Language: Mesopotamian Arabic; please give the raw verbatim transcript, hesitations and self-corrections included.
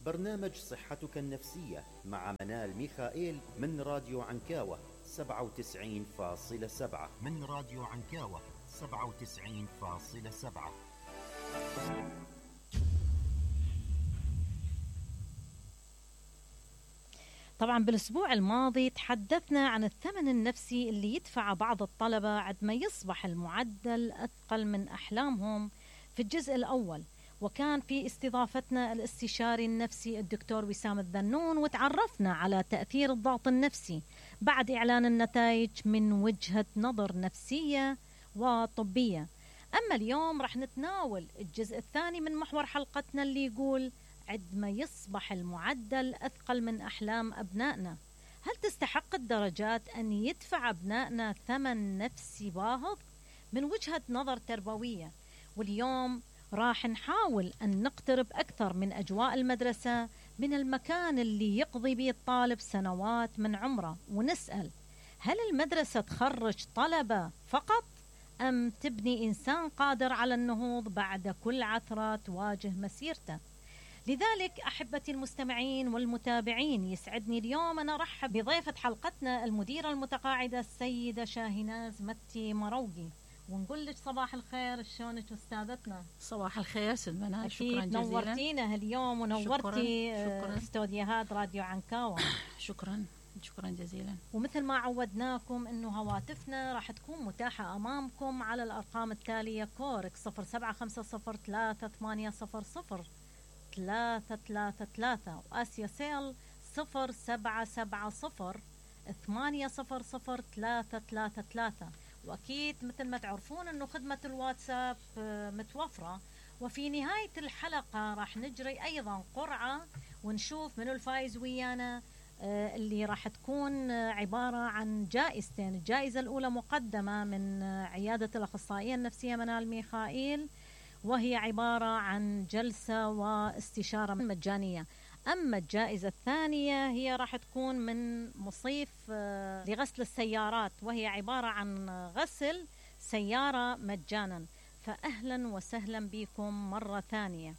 برنامج صحتك النفسية مع منال ميخائيل من راديو عنكاوة سبعة وتسعين فاصلة سبعة من راديو عنكاوة سبعة وتسعين فاصلة سبعة. طبعا بالأسبوع الماضي تحدثنا عن الثمن النفسي اللي يدفع بعض الطلبة عندما يصبح المعدل أثقل من أحلامهم في الجزء الأول، وكان في استضافتنا الاستشاري النفسي الدكتور وسام الذنون، وتعرفنا على تأثير الضغط النفسي بعد إعلان النتائج من وجهة نظر نفسية وطبية. أما اليوم رح نتناول الجزء الثاني من محور حلقتنا اللي يقول عندما يصبح المعدل أثقل من أحلام أبنائنا، هل تستحق الدرجات أن يدفع أبنائنا ثمن نفسي باهظ من وجهة نظر تربوية؟ واليوم راح نحاول أن نقترب أكثر من أجواء المدرسة، من المكان اللي يقضي به الطالب سنوات من عمره، ونسأل هل المدرسة تخرج طلبة فقط أم تبني إنسان قادر على النهوض بعد كل عثرة تواجه مسيرته؟ لذلك أحبتي المستمعين والمتابعين، يسعدني اليوم أن أرحب بضيفة حلقتنا المديرة المتقاعدة السيدة شاهيناز متي مروقي، ونقول لك صباح الخير. شلونك أستاذتنا؟ صباح الخير ست منال، شكرا جزيلا. نورتينا اليوم ونورتي استوديوهات راديو عنكاوة. شكرا شكرا جزيلا. ومثل ما عودناكم انه هواتفنا راح تكون متاحة امامكم على الارقام التالية: كورك صفر سبعة خمسة صفر ثلاثة ثمانية صفر صفر ثلاثة ثلاثة ثلاثة، وآسيا سيل صفر سبعة سبعة صفر ثمانية صفر صفر ثلاثة ثلاثة ثلاثة. وأكيد مثل ما تعرفون أنه خدمة الواتساب متوفرة. وفي نهاية الحلقة راح نجري أيضا قرعة ونشوف من الفائز ويانا، اللي راح تكون عبارة عن جائزتين. الجائزة الأولى مقدمة من عيادة الأخصائية النفسية منال ميخائيل، وهي عبارة عن جلسة واستشارة مجانية. أما الجائزة الثانية هي راح تكون من مصيف لغسل السيارات، وهي عبارة عن غسل سيارة مجانا. فأهلا وسهلا بكم مرة ثانية.